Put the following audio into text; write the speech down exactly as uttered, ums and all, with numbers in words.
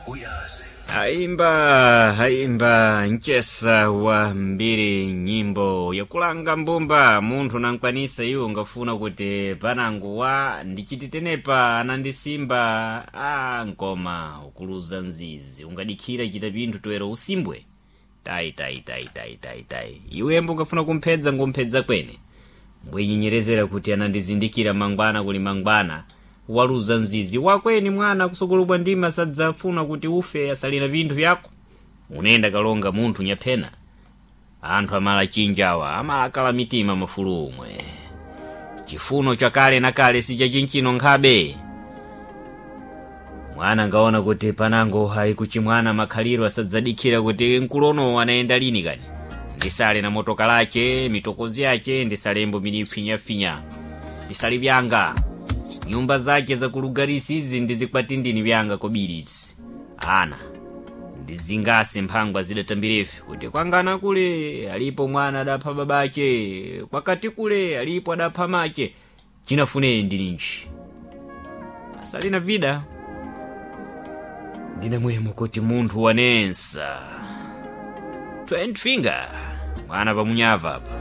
Uyazi. Aimba aimba mchesa wa mbiri nyimbo yakulanga mbumba munthu nankwanisa iwo ngafuna kuti panangu wa ndichititenepa anandisimba a nkoma ukuluza nzizi ungadikhira chita pinthu toera usimbwe tayi tayi tayi tayi tayi tayi iwembo ungafuna kumphedza ngomphedza kwene mbwenyenyerezera kuti anandizindikira mangwana kuli mangwana waluza nzizi wakweni mwana kusokolobwa ndima sadzafuna kuti ufe asalina vinthu vyako unenda kalonga munthu nyaphena anthu amala chinjawa amalakala mitima mafulu omwe chifuno chakale na kale sichachinchino nkhabe mwana ngaona kuti panango hayi kuchimwana makhaliro asadzadikhira kuti nkulono anayenda lini kani ndisale na motoka lache mitokozi yache ndisalembo minipfinyafinya ndisali vyanga nyumba zache zakulugarisi izi ndizikwatindini vyanga kobirisi ana ndizingase mphangwa zidatambirefe kuti kwangana kule alipo mwana adapha babache kwakati kule alipo adapha mache chinafuneni ndilinji asalina vida ndine mwemo kuti munthu wanensa twenty finger mwana pamunyava apa.